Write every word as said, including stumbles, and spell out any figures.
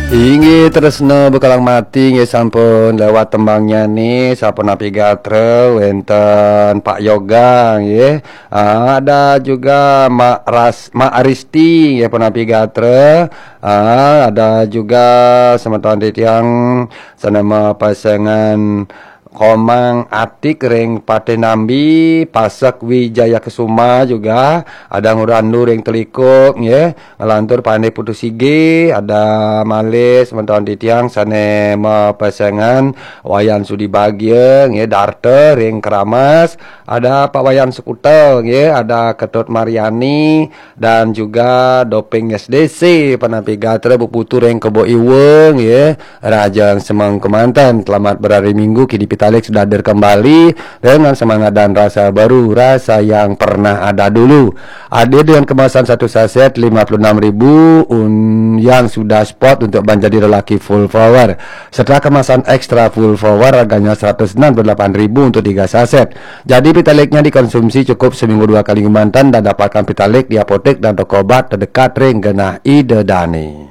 Inggih, tresna bekalang mati, nggih, sampun lewat tembangnyané, sapunapi gatra, wénten Pak Yoga, nggih. Ah, ada juga Mak Ras-, Mak Aristi, nggih, punapi gatra. Ah, ada juga semeton titiang sané mapesengan Komang Atik ring Patih Nambi, Pasek Wijaya Kesuma juga, ada Ngurandu ring Telikuk, nggih, nglantur Pandé Putu Sige, ada malih semeton titiang sané mapesengan Wayan Sudi Bagia, nggih, Darta ring Keramas, ada Pak Wayan Sekuta, nggih, ada Ketut Mariani, dan juga Doping S D C, punapi gatra, Bu Putu ring Kebo Iwa, nggih. Rahajeng semeng kemanten, selamat berhari Minggu, kini Pitalik sudah hadir kembali dengan semangat dan rasa baru, rasa yang pernah ada dulu. Hadir dengan kemasan satu saset lima puluh enam ribu un-, yang sudah spot untuk menjadi lelaki full power. Setelah kemasan extra full power, harganya seratus enam puluh delapan ribu untuk tiga saset. Jadi Pitaliknya dikonsumsi cukup seminggu dua kali kemanten dan dapatkan Pitalik di apotek dan toko obat terdekat ring genah Ida Dane.